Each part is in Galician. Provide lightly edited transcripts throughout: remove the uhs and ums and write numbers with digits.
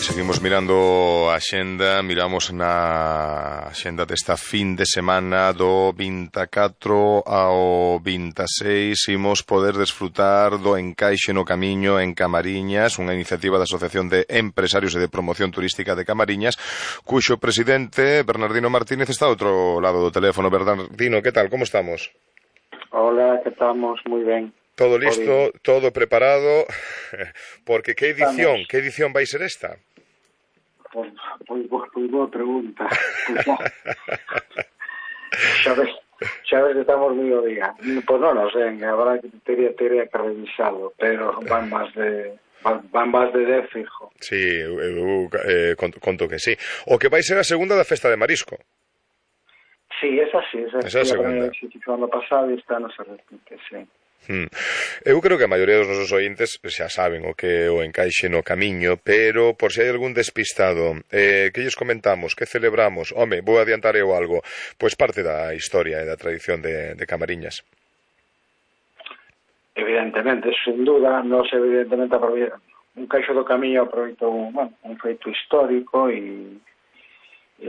Seguimos mirando a xenda, miramos na xenda desta fin de semana do 24 ao 26, imos poder desfrutar do Encaixe no Camiño en Camariñas, unha iniciativa da Asociación de Empresarios e de Promoción Turística de Camariñas, cuxo presidente, Bernardino Martínez, está ao outro lado do teléfono. Bernardino, que tal, como estamos? Hola, que estamos moi ben. Todo listo, todo preparado, porque que edición vai ser esta? Pois boa pregunta. Xa ves que estamos moi o día. Pois non sei, agora teria que revisarlo, pero van máis de 10 fijo. Sí, eu conto que sí. O que vai ser a segunda da Festa de Marisco. Sí, esa Esa é a segunda. Se fixo ano pasado e esta non se repite, sí. Eu creo que a maioría dos nosos ointes xa saben o que é o Encaixe no Camiño, pero por se hai algún despistado, que lles comentamos, que celebramos, home, vou adiantar eu algo, pois parte da historia e da tradición de Camariñas. Evidentemente, sin duda, nos evidentemente un Caixo do Camiño aproveitou un feito histórico e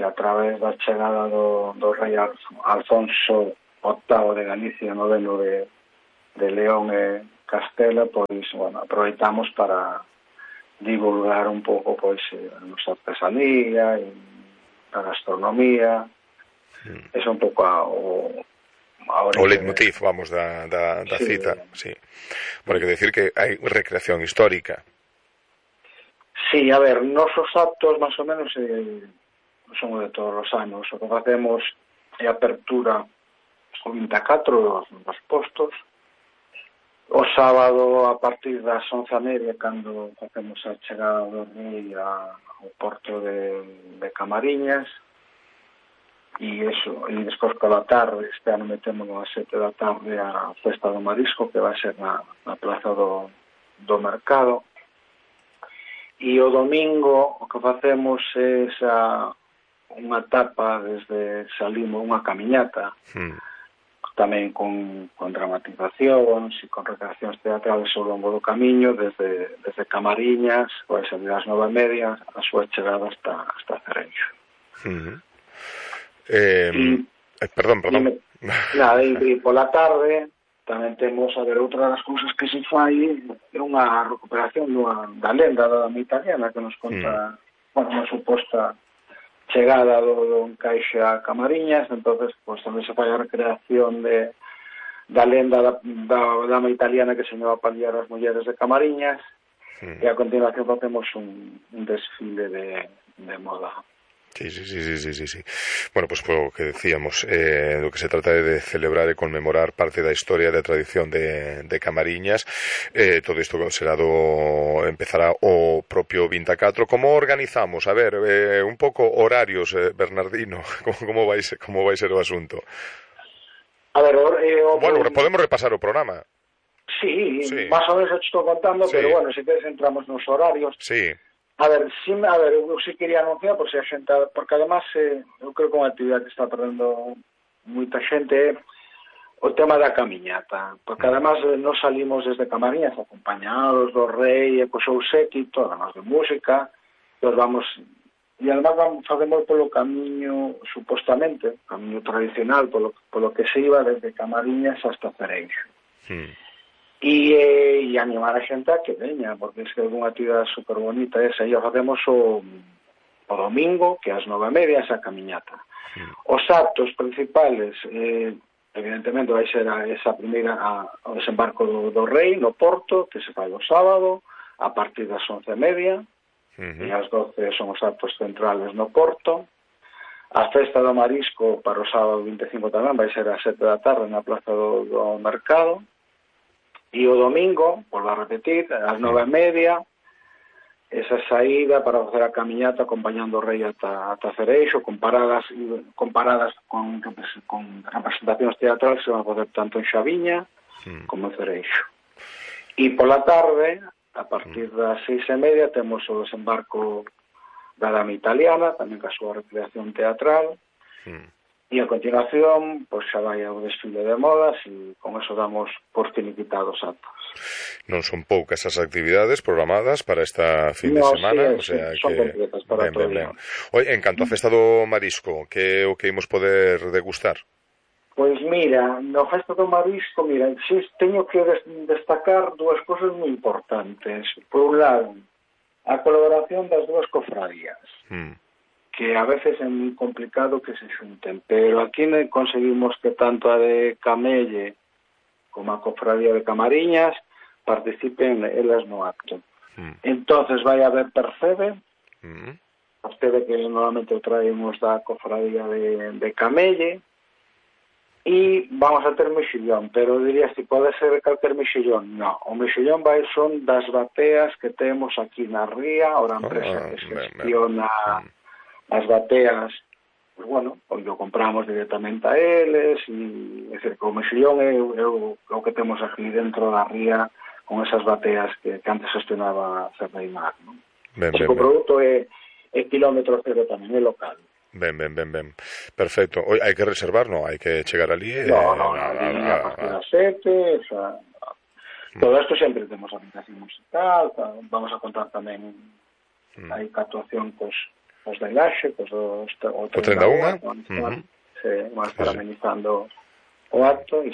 a través da chegada do rei Alfonso VIII de Galicia, noveno de León e Castela, pois, aproveitamos para divulgar un pouco, pois, a nosa artesanía e a gastronomía. É un pouco o leitmotiv, vamos, da sí, cita, sí. Bueno, hai que decir que hai recreación histórica. Sí, a ver, nosos actos, máis ou menos, son de todos os anos. O que facemos é apertura o 24 dos postos. O sábado, a partir das 11:30, cando facemos a chegada do rei ao porto de Camariñas, e despois pola tarde, este ano metemos a 7 da tarde a Festa do Marisco, que vai ser na Plaza do Mercado, e o domingo o que facemos é unha etapa desde salimos, unha camiñata, tamén con dramatizacións e con recreacións teatrales ao longo do camiño, desde Camariñas, vai ser das 9:30, a súa chegada hasta Cereixo. Perdón. Nada, e pola tarde tamén temos, a ver, outra das cousas que se fai é unha recuperación da lenda da dama italiana que nos conta, unha suposta chegada do Encaixe a Camariñas. Entonces, pues tamén se fai a recreación da lenda da dama italiana que se iba a paliar as mulleres de Camariñas, e a continuación facemos un desfile de moda. Sí. Bueno, pues o que decíamos, do que se trata é de celebrar e conmemorar parte da historia e da tradición de Camariñas. Todo isto empezará o propio 24. Como organizamos? A ver, un pouco horarios, Bernardino, como vai ser o asunto? A ver, bueno, podemos repasar o programa. Sí, máis ou menos estou contando, pero bueno, se queres entramos nos horarios. Sí. A ver, eu sí quería anunciar, porque además eu creo que unha actividade que está perdendo moita xente o tema da camiñata, porque además nos salimos desde Camariñas acompañados do rei e co seu séquito, además de música, nos vamos, e además facemos polo camiño, supostamente, camiño tradicional, polo que se iba desde Camariñas hasta Cereixo. E animar a xente a que veña, porque é unha actividade super bonita esa, e o facemos o domingo, que ás 9:30, esa camiñata. Os actos principales, evidentemente, vai ser esa primeira, o desembarco do rei no porto, que se fai o sábado, a partir das 11:30, e ás 12 son os actos centrales no porto. A Festa do Marisco para o sábado 25 tamén vai ser ás 7 da tarde na Plaza do Mercado. E o domingo, volvo a repetir, ás 9:30, esa saída para facer a camiñata acompañando o rei ata Cereixo, con paradas con representacións teatrales que se van a facer tanto en Xaviña como en Cereixo. E pola tarde, a partir das 6:30, temos o desembarco da dama italiana, tamén ca súa recreación teatral, E a continuación, pois xa vai ao desfile de modas e con eso damos por finiquitados actos. Non son poucas as actividades programadas para esta fin de semana, o sea son que completas para todo o día. Oi, en canto á festa do marisco, que é o que imos poder degustar? Pois mira, no festa do marisco, mira, teño que destacar dúas cousas moi importantes. Por un lado, a colaboración das dúas cofradías. Que a veces é moi complicado que se xunten, pero aquí conseguimos que tanto a de Camelle como a cofradía de Camariñas participen elas no acto. Entonces vai haber percebe, percebe que normalmente o traemos da cofradía de Camelle, e vamos a ter mexillón, pero diría si pode ser calquer mexillón. No, o mexillón son das bateas que temos aquí na ría, a empresa que gestiona as bateas, pues bueno, pois o compramos directamente a eles, e é dicir, que o mexillón é o que temos aquí dentro da ría con esas bateas que antes gestionaba Cerdeimar, non? O produto é kilómetro cero tamén, é local. Ben. Perfecto. Oi, hai que reservar, non? Hai que chegar ali No, a partir das 7, todo isto sempre temos aplicación musical, vamos a contar tamén hai actuación os da Ilaxe, o 31, van a estar amenizando o acto e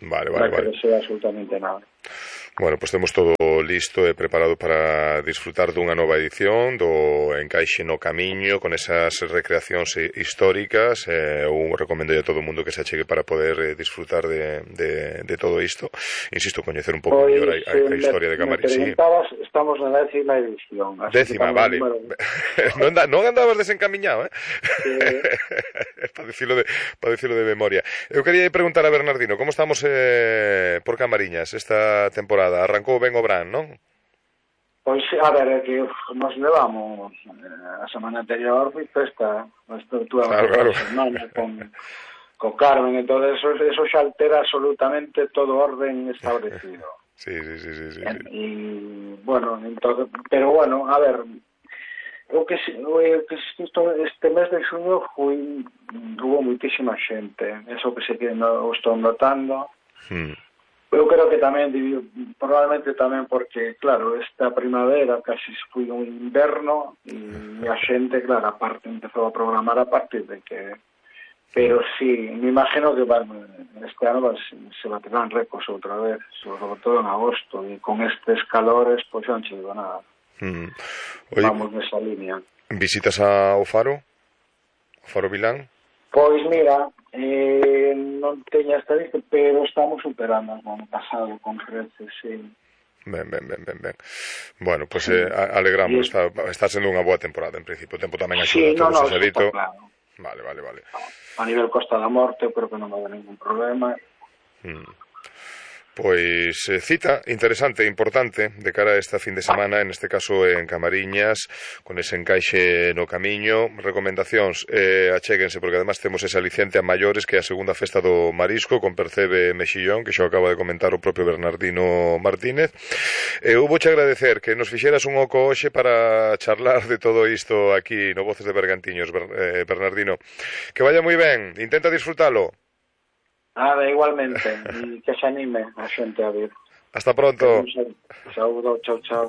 vale. que non sea absolutamente nada. Bueno, pois temos todo listo e preparado para disfrutar dunha nova edición do Encaixe no Camiño con esas recreacións históricas. Eu recomendo a todo o mundo que se achegue para poder disfrutar de todo isto. Insisto, coñecer un pouco mellor a historia de Camariñas. Estamos na 10ª edición. 10ª, vale. Non andabas desencamiñado, para dicilo de memoria. Eu quería preguntar a Bernardino, como estamos por Camariñas esta temporada? Arrancou ben o Bran, non? Pois, a ver, é que nos levamos a semana anterior foi festa, a estrutura da semana con Carmen, entón eso xa altera absolutamente todo orden establecido. Sí. E, bueno, entonces, pero bueno, a ver, este mes de xuño hubo moitísima xente, eso que estou notando. Eu creo que tamén, probablemente tamén porque, claro, esta primavera casi foi un inverno e a xente, claro, aparte empezou a programar a partir de que... Pero sí, me imagino que este ano se baterán récords outra vez, sobre todo en agosto, e con estes calores, pois non che digo nada. Vamos nesa línea. Visitas ao Faro? O Faro Vilán? Pois mira, non teño estadística, pero estamos superando o ano pasado con creces, sí. Ben. Bueno, pois alegramos, está sendo unha boa temporada en principio, o tempo tamén axuda, todo se dito. Claro. Vale. A nivel Costa da Morte, eu creo que non vai haber ningún problema. Pois cita interesante e importante de cara a esta fin de semana, en este caso en Camariñas, con ese encaixe no camiño. Recomendacións, achéguense, porque además temos ese aliciente a maiores que é a segunda festa do marisco con Percebe Mexillón, que xo acaba de comentar o propio Bernardino Martínez. Eu vouche agradecer que nos fixeras un oco hoxe para charlar de todo isto aquí no Voces de Bergantiños, Bernardino. Que vaya moi ben, intenta disfrutalo. Igualmente, e que se anime a xente a vir. Hasta pronto. Saúdo, chao.